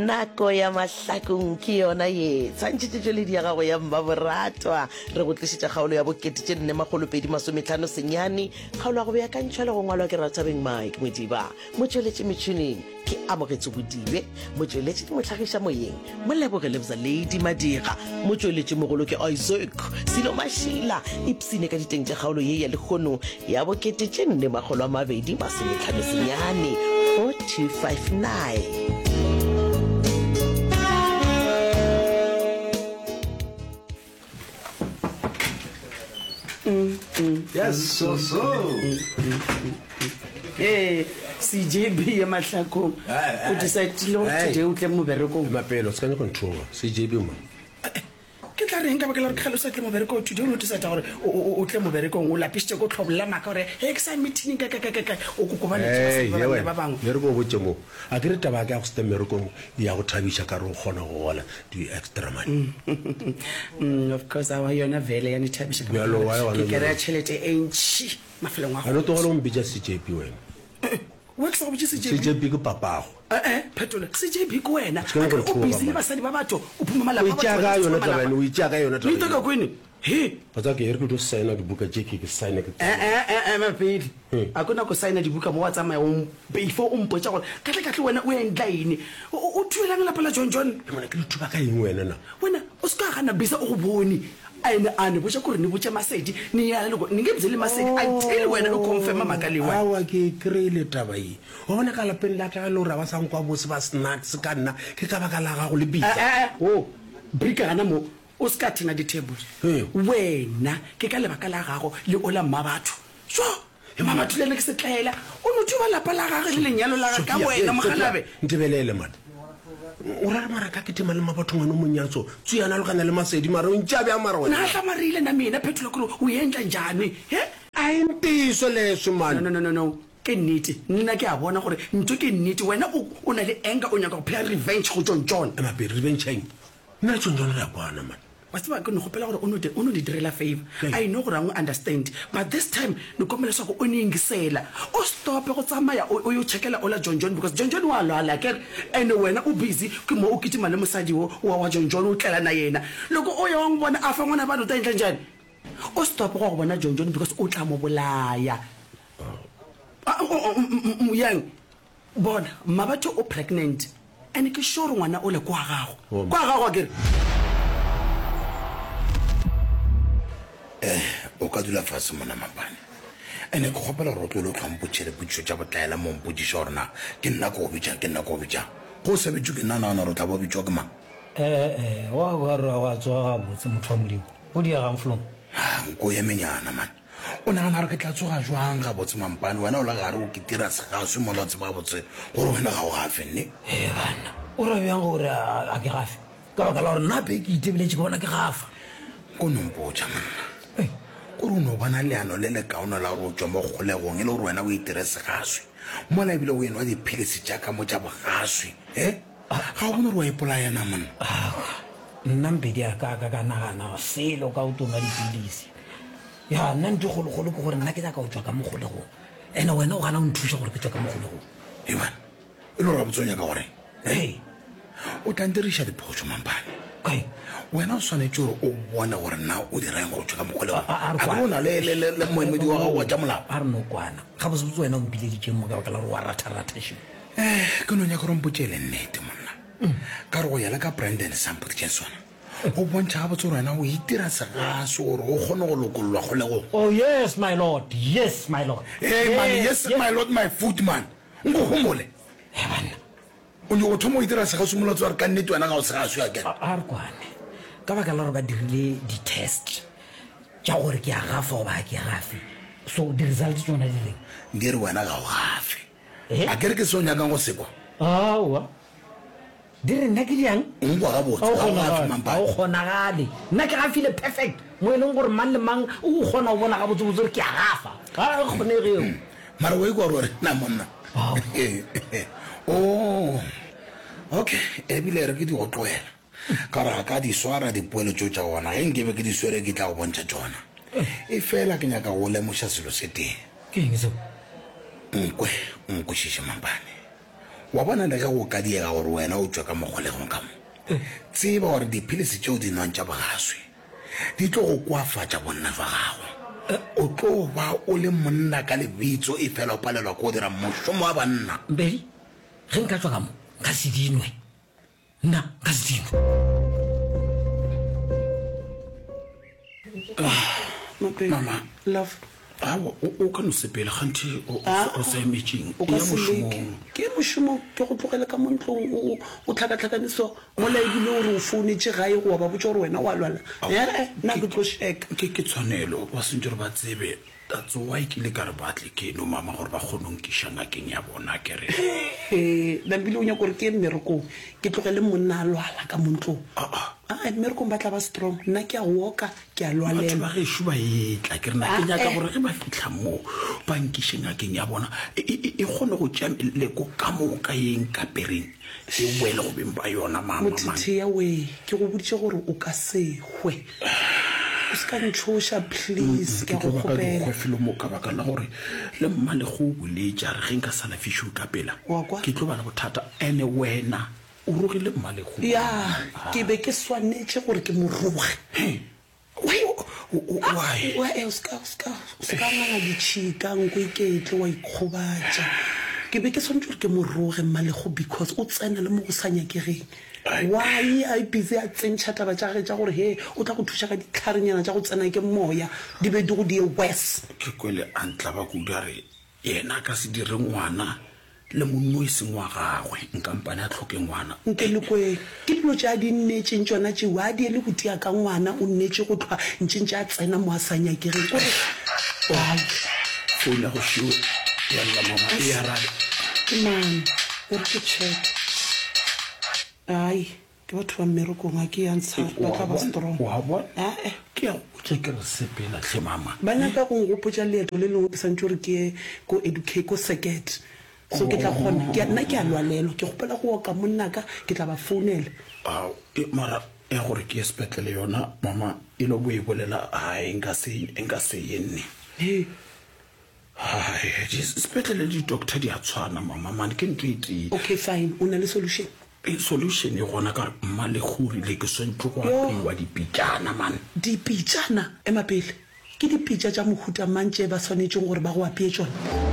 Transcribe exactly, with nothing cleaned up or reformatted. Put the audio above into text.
Nako ya mahlakong ke yona ye. Tshwantšhetšo tšweledi ya gago ya Mmaboratwa. Re go tlišetša kgaolo ya bokete tše nne makgolo pedi masometlhano senyane. Kgaolo ya go beakantšhwa le go ngwalwa ke Rathabeng Mike Modiba. Motšweletši metšhineng ke Amogetso Bodibe. Motšweletši le mohlagiša moyeng Moleboge Lebza Lady Madira. Motšweletši mogolo ke Isaac Silo Mašila. Ipsine ka diteng tša kgaolo ye ya lehono ya bokete tše nne makgolo a mabedi masometlhano senyane, four two five nine. Yes, so so. Ee, C J B ya Mahlakong o decidile gore today o tle moberekong. Mapelo, se ka nyaka nthoga. C J B mo. Ke tla reng ka baka la gore ke gale o sa tle moberekong? Today o no decide gore o- o o tle moberekong, o lapišitše ko tlhobolla maaka gore he ke sa meeting ka ka ka ka ka o kokobaletše Hey, basadi ba ye banna wena. ba bangwe. Ye re ko botše mo. A ke re taba ya ka ya go se tle mmerekong ya go thabiša ka re o kgona go gola di-extra money. Mm, of course, awa yona vele ya nithabiša ka baka Bjalo, la why gore gona ke kry-a bjalo? tšhelete e ntšhi mafelong a A no go. tlogele go mpitša C J P wena. We ke sa go botše C J B. C J P ke papago. Eh-eh, phetola C J B ke wena. Se ka A nyaka ke re go o nthoga busy le man. basadi ba batho, o phuma O malapa a e tšea batho, ka wena o yona phuma taba malapa. ene, o e tšea ka yona taba Leito ka yeo. kwene. He. Wa tseba ke e re ke tlo signa dibuka tše ke ke signa ke Eh, tsamaye. eh, eh, ema pele. Hmm. A ko nako signa dibuka mo wa tsamaya o m- before o mpotša gore kahle kahle wena o endla eng. O o- o thubelang lapa la John John? Ke mona ke le thuba ka eng wena na? Wena o se ka gana bisa o go bone. Ene a ne botša kore ne botše Masedi ne ya le ne nge byele Masedi until wena o confirma maka lewa. Aowa ke e kry-ile taba ye. Wa bona ka lapeng la ka ge e le gore ga ba sa nkwa bose ba snacks ka nna ke ka baka la gago le Eh Bisa. eh eh wo brika gana mo o se ka thena di table. Hee. Wena ke ka lebaka la gago le ola mmabatho. Tjo mmabatho le ena ke setlaela o no thuba lapa la gage le lenyalo la gage ka Sophia, wena hei, Sophia, mogalabe. ntebelele man. O ra re mara ka kitima le mmabatho ngwana o monyatso tsuyana lokana le Masedi mara o ntša bjang mara wena? Na hlamarile na mina phetola kore o endla njhani he? A e ntiyiso leswi man. No no no no no ke nnete nna ke a bona gore ntho ke nnete wena o o na le anger o nyaka go playa revenge go John John. Ema pele, revenge ya eng? Nna le John John re a kwana man. Wa tseba ke no kgopela gore o no o no di direla favor. Keng? I know gore a n'wi understand but this time ni kombela leswaku u ni yingisela. U stop go tsamaya o o yo chekela ola John John because John John wa lwala akere and wena u busy ke mo u kitima le mosadi wo wa wa John John u tlela na yena. Loko o ya wa n'wi vona a fa n'wana vanhu u ta endla njhani? U stop go ya go bona John John because u tla mo bolaya. Yang bona Mmabatho o pregnant and ke sure ngwana ole kwa gago. Oh. Kwa gago akere? Eh, o ka dula fase mona Mapane. Ene ke kgopela gore o tlogele o hlwa mpotšiša dipotšišo tša botlaela mo o mpotšiša gore na ke nna ke go bitšang, ke nna ke go bitšang. Ge o sa bitšwe ke nna, o nagana gore o tla ba o bitšwa ke mang? Ee, wa kwa re wa tsoga gabotse motho wa Modimo. Go diegang flong? Ah, nko ye menyana man. O nagana gore ke tla tsoga jwang gabotse Mampane, wena o le gare o kitira segaswi mola o tseba gabotse gore wena ga o gafe, nne? Ee banna, o ra bjang gore a ke gafe? Ka baka la gore nna pe ke itebeletše ke bona ke gafa. Ko no mpotša monna, kore o no bona leano le lekaone la gore o tšwe mo kgolegong e le gore wena o itire segaswi mola ebile o enwa diphilisi tša ka mo tša bogaswi, he? Ga o bone gore wa ipolaya na monna? Aowa, nna Mpedi a ka ka ka nagana selo ka go tlo nwa dipilisi. Ya, nna ntho e kgolokgolo ke gore nna ke nyaka go tšwa ka mo kgolegong. Ene wena o gana go nthuša gore ke tšwe ka mo kgolegong. Eban, e le gore gabotse o nyaka gore Ee. O tla ntiriša diphošo, Mampane. Kae? Wena o swanetše gore o bone gore na o dira eng go tšwa ka mokgolegong. A- a- a re A kwana. ke o na le, le, le, le moemedi wa gago wa tša molao? A re no kwana. Gabotsebotse wena o mpileditšeng mo ka baka la gore wa ratharatha šo. Eh, ke no nyaka gore o mpotše e le nnete, monna. Ka re go ya le ka Brandon se a mpoditšeng sona, go bontšha gabotse gore wena o itira segaso gore o kgone go lokollwa kgolegong. Oh, yes, my lord. Yes, my lord. Hey, man, yes, my lord, my foot, man. Nko homole. He banna. O nyoko thoma go itira segaswi mola o tseba gore ka nnete wena ga o segaswi akere. A a re kwane. Ka baka la gore ba dirile di-test tša gore ke a gafa goba ga ke gafe. So di-result tšona di reng? Di re wena ga o gafe. Eh? Akere ke se o nyakang go se kwa? Aowa. Di re nna ke diang? O nkwa gabotse, Ga o ga o gafe kgonagale, ga Mampane. o kgonagale. Nna ke gafile perfect mo e leng gore mang le mang o kgona go bona gabotsebotse gore ke a gafa. Ga e kgonege eo. Mara o ikwa gore o re na monna? Aowa. Oh, okay, ebile re ke di go tlohela ka gore ga ka di swara dipoelo tšeo tša gona. Ge nkebe ke di swere ke tla go bontšha tšona. Efela ke nyaka go lemoša selo se tee. Ke eng seo? Nkwe, o nkwešiše Mampane. Wa bona le ge go ka diega gore wena o tšwe ka mo kgolegong ka mo, tseba gore diphilisi tšeo di nwang tša bogaswi di tlo go koafatša bonna jwa gago. O tlo ba o le monna ka lebitso efela o palelwa ke go dira mošomo wa banna. Mpedi, ge nka tšwa ka mo, nka se di nwe. Nna nka se di nwe. Mama. Love. Aowa, o, o ka no sepela, kganthe o, o, Ah, o sa emetšeng? O ka Eya se leke. mošomong. Ke ye mošomong, ke go tlogele ka mo ntlong o, o, o tlhakatlhakane so, mola ebile o re o founetše gae go wa ba botša gore wena o a lwala. Ee, nna ke tlo šeka. Ke, ke tshwanelo, ba swantše gore ba tsebe. That's why ke ile ka re ba tle keno, mama, gore ba kgone go nkiša ngakeng ya bona, ke re. He, Nambile o nyaka gore ke ye mmerekong, ke tlogele monna a lwala ka mo ntlong. Ah, ah. Aa, mmerekong ba tla ba strong, nna ke a woka, ke a Batho lwalelwa. ba gešo ba etla, ke re na ke Ah, nyaka eh. gore ge ba fihla moo ba nkiše ngakeng ya bona, e, e, e, e kgone go tšea meleko ka moka ye nkapereng, e boele go beng ba yona, mama, man. Mothethea wee, ke go boditše gore o ka se hwe. O se ka ntšhoša, please, ke Ke a go tlo ba ka kgopela. dikgwe felo mo ka baka la gore le mmalego o boletše a re ge nka sa lafišwe ka pela, Wa kwa? ke tlo ba le bothata. Ene wena o rogile mmalego. Ya, ke be ke swanetše gore ke mo roge. He, Why? o, o, o, why? Wa, eh, o se ka, o se ka, o se ka nganga ditšhika, nko iketle, wa ikgobatša. Ke be ke swanetše gore ke mo roge mmalego because o tsena le mo go sa nyakegeng. Why a busy a tsentšha taba tša gage tša gore he o tla go thuša ka ditlharenyana tša go tsena ke moya, di be di go die worse. Ke kwele a ntlaba kudu a re yena a ka se dire ngwana le monno e seng wa gagwe, nkampane a tlhoke ngwana. Nke le kwe, ke dilo tše a di nnetšeng tšona tšeo, a die le go tia ka ngwana, o nnetše go hlwa ntše ntše a tsena mo a sa nyakegeng. O re, Ai. Phone ya go šeo ya lla mama, e arabe. Ke mang? O re ke check. Ai, ke batho ba mmerekong, a ke ya ntsha, ba tla ba strong. Wa bona? Ae. Ke ya go botša ke re sepela hle mama. Ba nyaka go nkgopotša leeto le lengwe ke santše gore ke ye ko educate, ko circuit. So ke tla kgona, ke a, nna ke a lwalelwa, ke kgopela go oka monnaka, ke tla ba founela. Ao, e, mara ya gore ke ye sepetlele yona mama e lo bo e bolela, ai, nka se, nka se ye nne. He. Ai, di-, sepetlele le di-doctor di a tshwana mama, mane ke ntho e tee. Okay, fine, o na le solution? E, solution e gona ka gore mmalego o rile ke swantšwe go Yo. apeiwa dipitšana man. Dipitšana? Ema pele, ke dipitša tša mohuta mang tše ba swanetšeng gore ba go apee tšona?